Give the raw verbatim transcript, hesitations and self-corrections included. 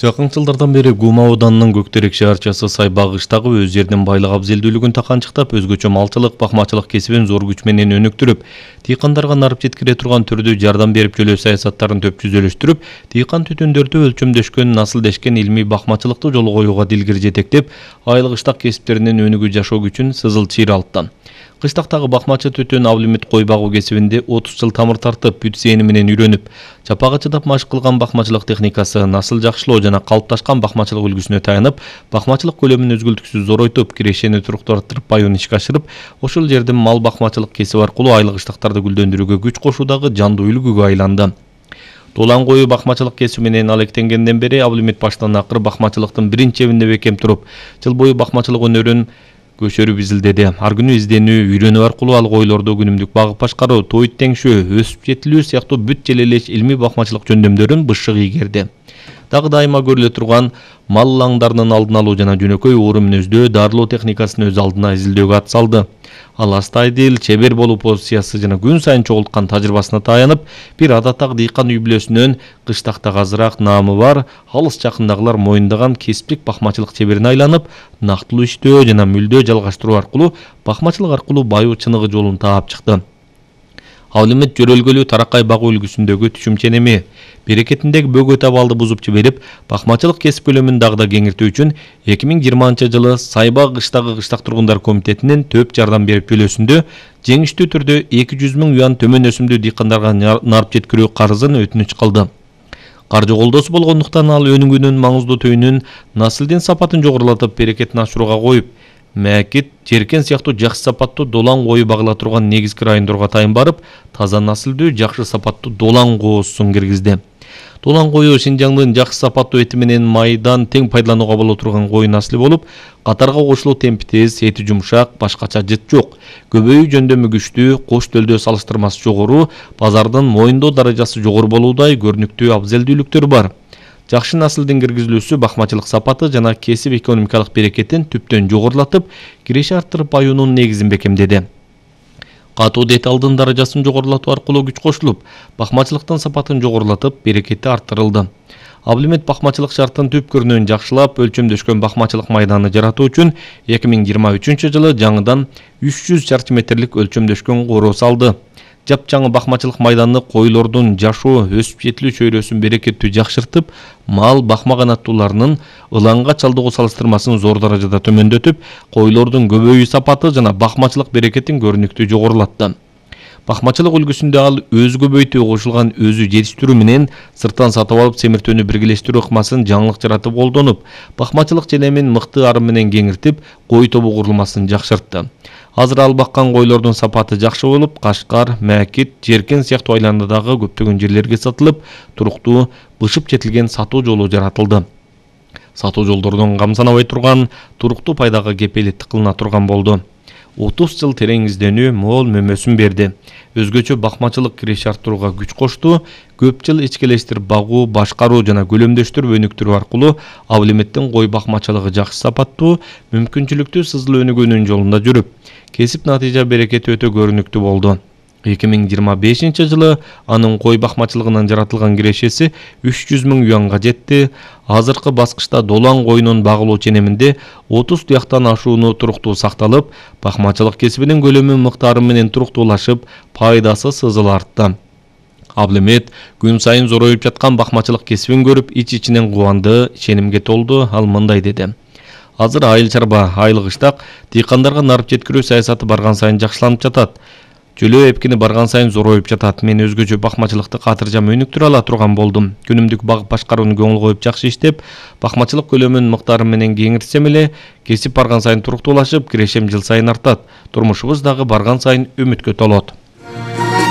Жакын жылдардан бери Гума ауданынын Көктерек шаарчасы Сайбак кыштагы өз жердин байлык абзелдүүлүгүн таканчыктап, өзгөчө малчылык, бакмачылык кесибин зор күч менен өнүктүрүп, дыйкандарга нарып жеткире турган түрдө жардам берип жөлөө саясаттарын төп жүзөлөштүрүп, дыйкан түтүндөрдү өлчөмдөшкөн, насылдешкен илмий бакмачылыкты жолго коюуга дилгир жетектеп, айыл кыштак кесиптеринин өнүгүү жашоо күчүн сызыл чыйра алтты. Кыштактагы бакмачы түтүн Абдулмит кой багуу кесибинде отуз жыл тамыр тартып, бүт зээни менен үйрөнүп, чапага чыдап машык кылган бакмачылык техникасы, насыл жакшылоо жана калыпташкан бакмачылык үлгүсүнө таянып, бакмачылык көлөмүн өзгөлтүксүз зоройтуп, кирешени туруктуу арттырып, баюун ишке ашырып, ошол жердин мал бакмачылык кесиби аркылуу айыл кыштактарды гүлдөндүрүүгө күч кошуудагы жандуу үлгүгө айланды. Долан кою бакмачылык кесиби менен алектенгенден бери Абдулмит баштан акыр бакмачылыктын биринчи эбинде бекем туруп, жыл бою бакмачылык өнөрүн көчөрүп изилдеди. Ар күнү изденүү, үйрөнүү аркылуу ал койлорду күнүмдүк багып башкаруу, тоойт теңшөө, өсүп жетилүү сыяктуу бүт желелеш илмий бакмачылык жөндөмдөрүн бышык ийгерди. Дагы дайыма көрүлө турган мал лаңдарынын алдын алуу жана жөнөкөй оору мүнөздөө дарылоо техникасын өз алдына изилдөөгө ат салды. Ал астайдыл, чебер болуу позициясы жана күн сайын чогулткан тажрыйбасына таянып, бир адаттагы дыйкан үй бүлөсүнөн кыштакта азыраак наамы бар, алыс жакындагылар моюндаган кесиптик бакмачылык чеберине айланып, нактылуу иштөө жана мүлдөө жалгаштыруу аркылуу бакмачылык аркылуу баюу чыныгы жолун таап чыкты. Абдулмит жөрөлгөлүү таракай багуу үлгүсүндөгү түшүмчө эми берекетиндеги бөгөт абалды бузуп жиберип, бакмачылык кесип көлөмүн дагы да кеңиртүү үчүн эки миң жыйырманчы жылы Сайбак кыштагы кыштак тургундар комитетинин төп жардам берип жөлөөсүндө жеңиштүү түрдө эки жүз миң юан төмөн өсүмдүү дыйкандарга нарып жеткирүү карызын өтүнүч кылды. Каржы колдоосу болгондуктан ал өнүгүүнүн маңыздуу түйүнүн насылдын сапатын жогорулатып, берекетин ашырууга коюп, Мәкит, Жеркен сыяктуу жакшы сапаттуу долан кою багыла турган негизги райондорго тайын барып, таза насылдуу, жакшы сапаттуу долан коосун киргизди. Долан кою Шинжаңдын жакшы сапаттуу эти менен майдан тең пайдаланууга боло турган кой насылы болуп, катарга кошулуу темпи тез, эти жумшак, башкача жыт жок. Көбөйүү жөндөмү күчтүү, кош төлдөө салыштырмасы жогору, базардын моюндоо даражасы жогору болуудай көрүнүктүү абзелдүүлүктөр бар. Жакшы насылдын киргизилүүсү бакмачылык сапаты жана кесип экономикалык берекетин түптөн жогорулатып, киреши арттырып баюунун негизин бекемдеди. Катуу деталдын даражасын жогорулатуу аркылуу күч кошулуп, бакмачылыктын сапатын жогорулатып, берекети арттырылды. Абдулмит бакмачылык шарттын түп көрүнүшүн жакшылап, өлчөмдөшкөн бакмачылык майданы жаратуу үчүн эки миң жыйырма үчүнчү жылы жаңыдан үч жүз чарчы метрлик өлчөмдөшкөн короо салды. Жапжаңы бакмачылык майданны койлордун жашоо, өсүп жетилүү чөйрөсүн берекеттүү жакшыртып, мал бакмаган аттууларынын ылаңга чалдыгуу салыштырмасын зор даражада төмөндөтүп, койлордун көбөйүү сапаты жана бакмачылык берекетин көрүнүктүү жогорулатты. Бакмачылык үлгүсүндө ал өзү көбөйтүү кошулган өзү жетиштирүү менен сырттан сатып алып семиртүүнү биргелештирүү ыкмасын жаңылык жаратып колдонуп, бакмачылык желемин мыкты ары менен кеңиртип, кой тобу курулмасын жакшыртты. Азыр ал баккан койлордун сапаты жакшы болуп, Кашкар, Мәкит, Жеркен сыяктуу айланадагы көптөгөн жерлерге сатылып, туруктуу, бышып жетилген сатуу жолу жаратылды. Сатуу жолдордон камсанабай турган, туруктуу пайдага кепилеттик кылына турган болду. отуз жыл терең изденүү мол мөмөсүн берди. Өзгөчө бакмачылык киреше арттырууга күч кошту, көп жыл ичкелештирип багуу, башкаруу жана көлөмдөштүрүп өнүктүрүү аркылуу Абдулмиттин кой бакмачылыгы жакшы сапаттуу, мүмкүнчүлүктүү сызыл өнүгүүнүн жолунда жүрүп, кесип натыйжа берекети өтө көрүнүктүү болду. эки миң жыйырма бешинчи жылы анын кой бакмачылыгынан жаратылган кирешеси үч жүз миң юанга жетти. Азыркы баскычта долан коюнун багылуу ченеминде отуз туяктан ашууну туруктуу сакталып, бакмачылык кесибинин көлөмү мыктары менен туруктуулашып, пайдасы сызыл артты. Абдулмит күн сайын зороюп жаткан бакмачылык кесибин көрүп, ич-ичинен кубанды, ишенимге толду. Ал мындай деди: Азыр айыл чарба, айыл кыштак, дыйкандарга нарып жеткирүү саясаты барган сайын жакшыланып жатат. Жөлөө эпкини барган сайын зороюп жатат. Мен өзгөчө бакмачылыкты катыржам өнүктүрө ала турган болдум. Күнүмдүк багып башкарууну көңүл коюп жакшы иштеп, бакмачылык көлөмүн мыктары менен кеңиртсем эле, кесип барган сайын туруктуулашып, кирешем жыл сайын артат. Турмушубуз дагы барган сайын үмүткө толот.